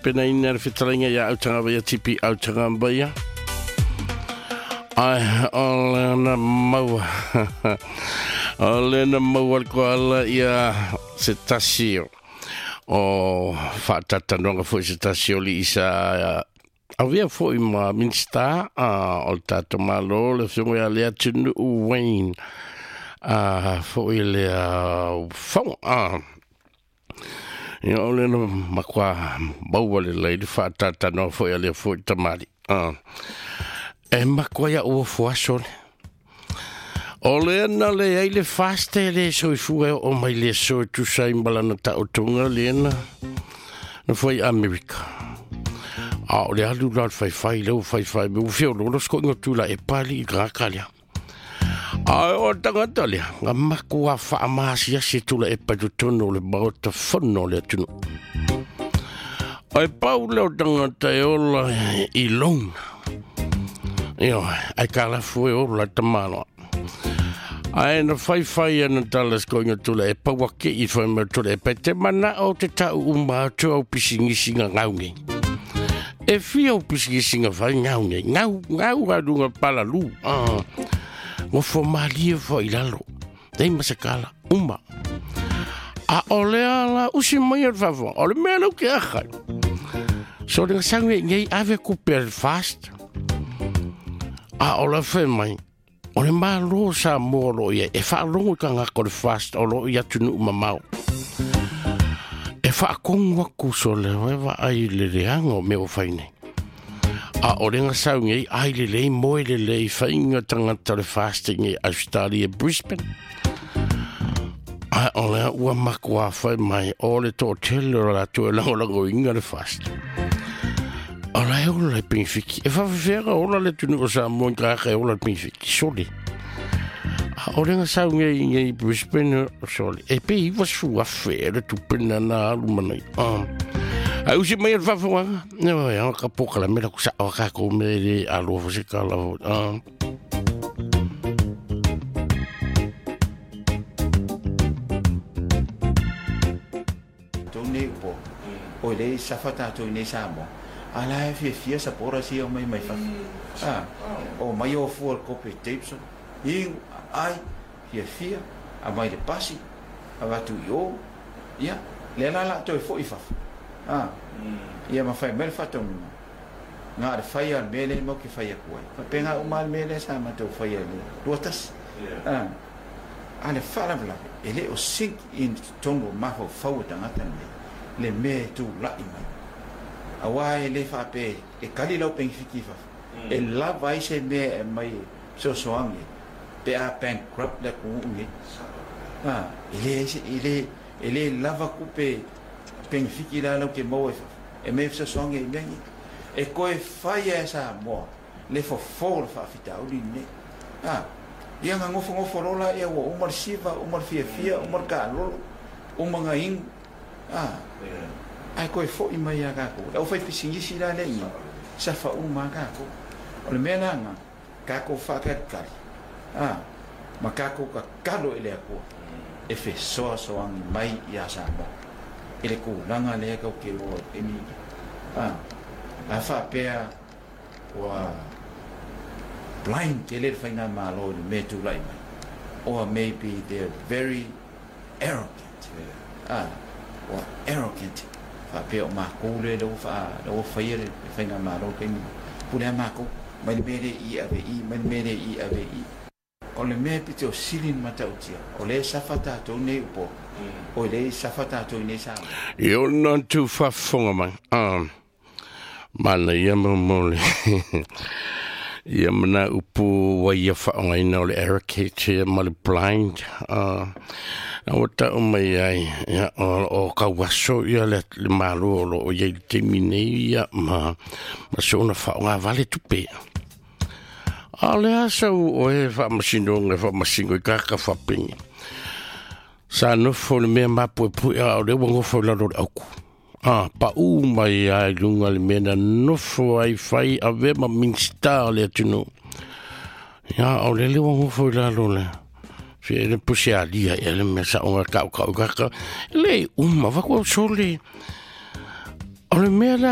tapenaina le fetalaiga ia Autagavaia TP Autagavaia. Ai, o lena maua. O lena maua le koala ia se tasi o faatalanoaga foi se tasi o alii sa avea foi ma Minisita o le tatou Malo, le afioga ia Leatinuu Wayne foi lea Faga. Ia o lena matua maua lelei le faatalatalanoa foi a lea foi tamalii. E matua ia'u ofo aso le. O lea na leai le FAST e le soifua e oo mai le aso e tusa ai ma lana taotoga lea na fai i Amerika. A o le alu la o le faifai lea ua faifai mai ua feoloolo sikoiga o Tuilaepa alii i le tagata lea. A o le tagata lea, na matua faamaasiasi e Tuilaepa i totonu o le Maota Fono o le atunuu. Ae pau lea o tagata e ola i loan. Ioe, aitalafu e ola le tamaloa. Ae na faifai ana tala sikoiga o Tuilaepa ua kei fai mai o Tuilaepa e te manao te tau uma atu au pisinisi nga gau nei. E fia au pisinisi nga fai gau nei. Gau, gau a lunga palalu. Ah. Nofo malie foi i lalo. Leai ma se kala. Uma. A o lea la usi mai le faafofoga. O le mea lea ou te aha ai. So le gasau nei nei ave kupe a le FAST. A o la fai mai, o le Malo o Samoa o lo o i ai, e faalogo i tagata o le FAST o lo o i atunuu mamao. E faatonu atu sole e vaai i le leaga o mea ua fai nei. A o le gasau nei, ai lelei, moe lelei, faiga tagata o le FAST i Australia, Brisbane. A o lea ua matua fai mai, o le toatele o latou e lagolagoina le FAST. O la e ola le penefiti. E faafefea ona ola le atunuu o Samoa i tagata e ola le penefiti? Sole. A o le gasau nei nei i Brisbane, sole. E pe 90,000 e le tupe na na alu manai. Ah. Ai usi mai le faafofoga. Ne wa ya ka poka la mela ku sa o ka ko me le alo fo se kala fo. Ah. Tou nei upo, o le safa tatou i nei Samoa, a la e fiafia supporters ia o mai mai fafo. A, o mai o fua le kope tapes o, iu, ai, fiafia, aumai le pasi, avatu i o, ia, lea la la toe foi i fafo. A, ia ma fai mai le faatonuga, na o le fai lava o le mea lea matou te fai atu ai. Faapena uma lava le mea lea sa matou faia i le 21. A, a o le faalavelave, e le o sink in totonu o mafaufau o tagata lenei le mea e tulai mai. Aua e le faapea e kali lau penefiti i fafo, e lava ai se mea e aumai e fesoasoani ai pe a bankrupt le atunuu lenei. A, e leai se, e le, e le lava tupe penefiti la lau te maua i fafo e aumai e fesoasoani ai i mea nei. E toe fai lava e Samoa le fofo o le faafitauli lenei. A, ia na nofonofo loa laia ua uma le siva, uma le fiafia, uma le taalolo, uma na inu, a, ae toe foi mai ia tatou. Le aufaipisinisi la lea i ina, safa uma lava tatou. O le mea la lena, tatou faatalitali, a, ma tatou tatalo i le Atua e fesoasoani mai ia Samoa i le tulaga lea tatou te o ai i le taimi lenei. A, a faapea ua blind tele le faigamalo i le mea e tulai mai, or maybe they're very arrogant, a, ua arrogant faapea o matou lea lea ua faa, lea ua faia le faigamalo i le taimi lenei, pule lava matou, mai le mea lea i i ave i i, mai le mea lea i i ave i i. O le mea pito sili ona matautia, o lea e safa tatou nei i Upolu, o lea e safa tatou i nei Samoa. I ona atu faafofoga mai, ah, manaia mo le ia mana upu ua ia faaaogaina o le arrogate ma le blind, ah, a ua tau mai ai, ia, o tauaso ia le Malo o lo o i ai i le taimi nei, ia, ma soona faaaoga vale tupe. A o le a sau oe faamasinoga e faamasino i tagata faapeni? Sa nofo i le mea mapuepue a o lea ua nofo i lalo o le auku. A, paū mai lava i luga le mea na nofo ai fai avea ma Minisita o le atunuu. Ia, o lele ua nofo i lalo le se le puse alia ea le mea sa ona tautau i tagata. E le uma, vaku au sole. O le mea lea